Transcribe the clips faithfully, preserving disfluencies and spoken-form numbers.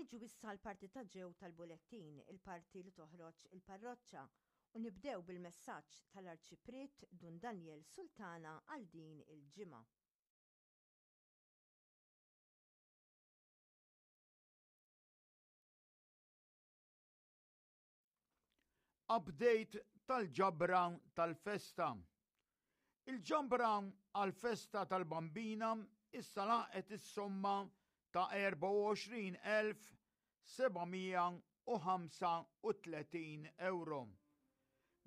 Niġu issa l-parti ta' ġew tal-bulettin, il-parti li toħroġ il-parroċċa, u nibdew bil-messaġġ tal-Arċipriet Dun Daniel Sultana għal din il-ġimgħa. Update tal-ġabra tal-festa. Il-ġabra għal-festa tal-Bambina issa laqgħet is-somma ta' erbgħa u għoxrin elf seba' mija u ħamsa u tletin euro.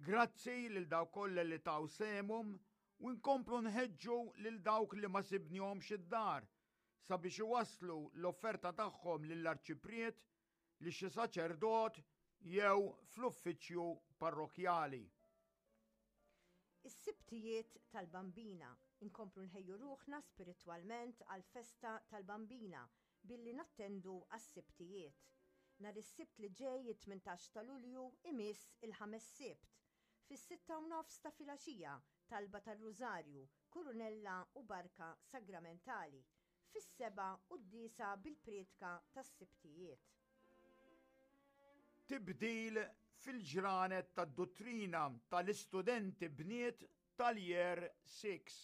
Grazzi lil dawk kollha li taw sehemhom u nkomplu nħeġġu lil dawk li ma sibnihomx id-dar sabiex iwasslu l-offerta tagħhom lill-arċipriet, li xi saċerdot jew fl-uffiċċju parrokjali. Is-Sibtijiet tal-Bambina. Inkomplu nħejju ruħna spiritwalment għal-festa tal-Bambina billi nattendu għas-Sibtijiet. Nhar is-Sibt li ġej it-tmintax ta' Lulju imiss il-ħames Sibt. Fis-sitta u nofs ta' filgħaxija, talba tar-Rużarju, kurunella u barka sagramentali. Fis-seba' quddiesa bil-prietka tas-Sibtijiet. Tibdil fil-ġranet tad-duttrina tal-istudenti bniet tal-Year six.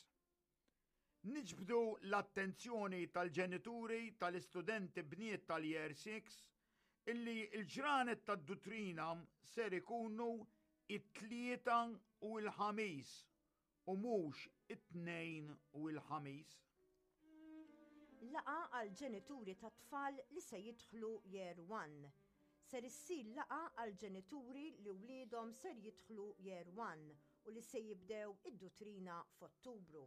Niġbdu l-attenzjoni tal-ġenituri tal-istudenti bniet tal-Year six illi l-ġranet tad-duttrina ser ikunu it-Tlieta u l-Ħamis u mhux it-Tnejn u l-Ħamis. Laqa għal ġenituri ta' tfal li se jidħlu Year one. Ser issir laqa għal ġenituri li wliedhom ser jidħlu Year one u li se jibdew id-duttrina f'Ottubru.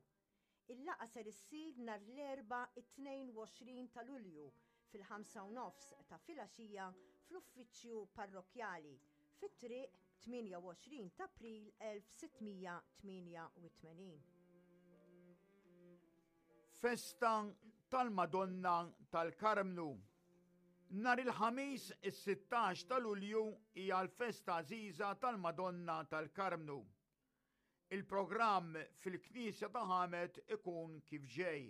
Il-laqa ser issir nhar l-Erbgħa it-tnejn u għoxrin ta' Lulju fil-ħamsa u nofs ta' filgħaxija fl-uffiċċju parrokjali fit-triq tmienja u għoxrin ta' April elf sittmija tmienja u tmenin. Festa tal-Madonna tal-Karmnu. Nhar il-Ħamis is-sittax ta' Lulju hija l-festa għażiża tal-Madonna tal-Karmnu. Il-programm fil-Knisja ta' Ħamet ikun kif ġej.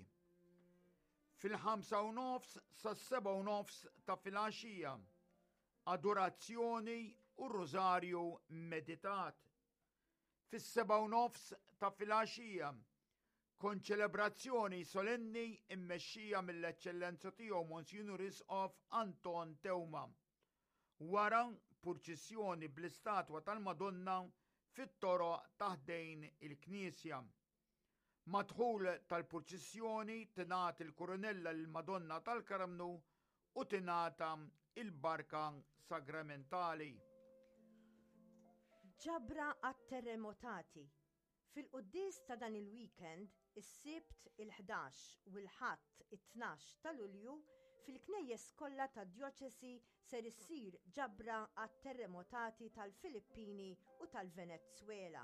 Fil-ħamsa u nofs sas-seba' u nofs ta' filgħaxija, adorazzjoni u rużarju meditat. Fis-seba' u nofs ta' filgħaxija, konċelebrazzjoni solenni immexxija mill-Eċċellenza tiegħu Monsignor Isqof Anton Teuma. Wara purċissjoni bl-istatwa tal-Madonna fit-toroq taħdejn il-Knisja. Madħul tal-purċissjoni tingħata il-kurunella lill-Madonna tal-Karmnu u tingħata il-barka sagramentali. Ġabra għat-terremotati. Fil-quddies ta' dan il-weekend, is-Sibt il-ħdax u l-Ħadd it-tnax ta' Lulju, fil-knejjes kollha tad-djoċesi ser issir ġabra għat-terremotati tal-Filippini u tal-Venezuela.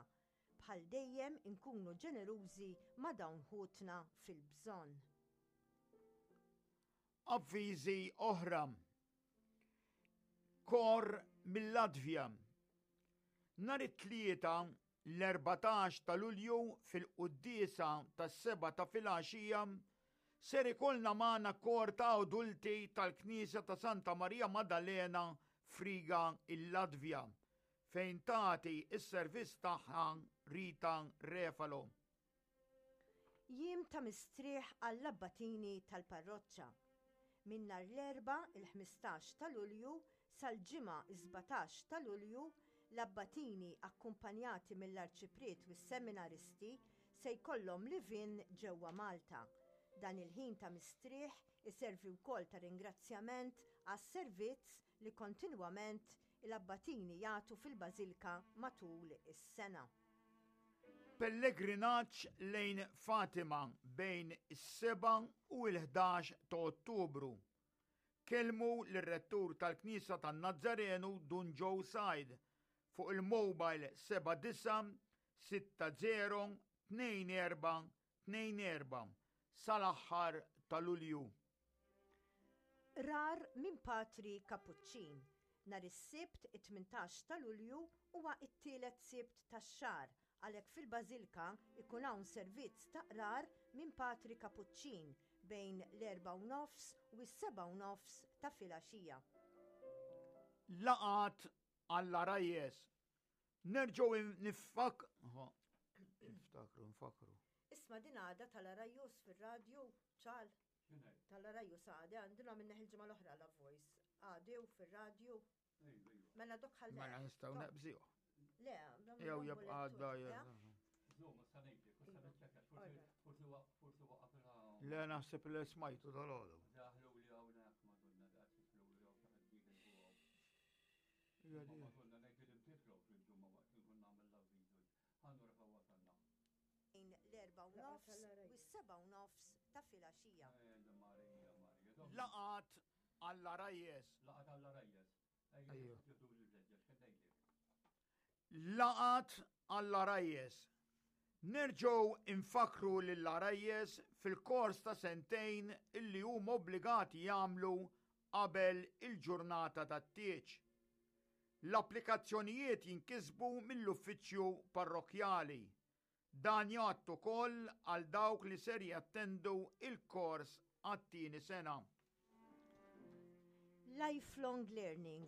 Bħal dejjem inkunu ġenerużi ma' dawn ħutna fil-bżonn. Avviżi oħra. Kor mill-Latvja. Nhar it-Tlieta l-erbatax ta' Lulju fil-quddiesa tas-seba' ta' filgħaxija ser ikollna magħna kor ta' adulti tal-Knisja ta' Santa Maria Maddalena f'Riga il-Latvja, fejn tagħti s-servizz tagħha Rita Refalo. Jiem ta' mistrieħ għall-abbatini tal-parroċċa. Minn nhar l-Erbgħa il-ħmistax ta' Lulju sal-Ġimgħa is-sbatax ta' Lulju, l-abbatini akkumpanjati mill-arċipriet u s-seminaristi se jkollhom live-in ġewwa Malta. Dan il-ħin ta' mistrieħ iservi wkoll ta' ringrazzjament għas-servizz li kontinwament l-abbatini jagħtu fil-Bażilka matul is-sena. Pellegrinaġġ lejn Fatima bejn is-seba' u l-ħdax ta' Ottubru. Kellmu lir-rettur tal-Knisja tan-Nazzarenu Dun Joe Said fuq il-mobile seba' disa' sitta zero tnejn erba' tnejn erba' sal-aħħar ta' Lulju. Rar minn Patri Kapuċċin. Nhar is-Sibt it-tmintax ta' Lulju huwa t-tielet Sibt tax-xahar, għalhekk fil-Bażilka ikun hawn servizz ta' qrar minn Patri Kapuċċin bejn l-erbgħa u nofs u s-sebgħa u nofs ta' filgħaxija. Laqgħat għall-għarajjes. Nerġgħu nifak... Niftakru, nfakru. Isma', din għada tal-Għarajjes fir-radju, ċal. Tal-Għarajjes għada, għandina minna il-ġimgħa l-oħra la voice. Għadew fir-radju. Mela dok ħalli. Mela nistgħu naqbżiha. Le, Jew jibqa' għadda. Le, naħseb li smajtu dal-għodu. Daħlu li hawnhekk, Madonna, daqs jidħlu li hawn xi ħadd ieħor. Madonna, ngħid li imtitlu fil-ġumma waqt li nkun nagħmel l-avviżu. Ħa nura fejn wasalna. Bejn l-erbgħa u nofs u s-sebgħa u nofs ta' filgħaxija. Marija, Marija. Laqgħat għall-għarajjes. Laqgħat għall-għarajjes. Ejju. Ejju. Laqgħat għall-għarajjes. Nerġgħu infakru lill-għarajjes fil-kors ta' sentejn illi huma obbligati jagħmlu qabel il-ġurnata tat-tieġ. L-applikazzjonijiet jinkisbu mill-uffiċċju parrokjali. Dan jgħadd ukoll għal dawk li ser jattendu il-kors għat-tieni sena. Lifelong Learning.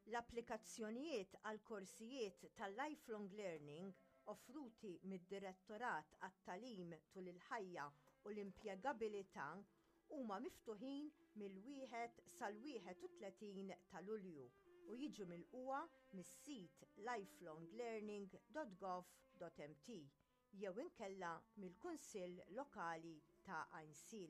L-applikazzjonijiet għal korsijiet tal-Lifelong Learning offruti mid-Direttorat għat-Tagħlim tul il-ħajja u l-impjegabilità huma miftuħin mill-wieħed sal-wieħed u tletin ta' Lulju u jiġu milqugħa mis-sit lifelonglearning dot gov dot M T jew inkella mill-Kunsill Lokali ta' Għajnsielem.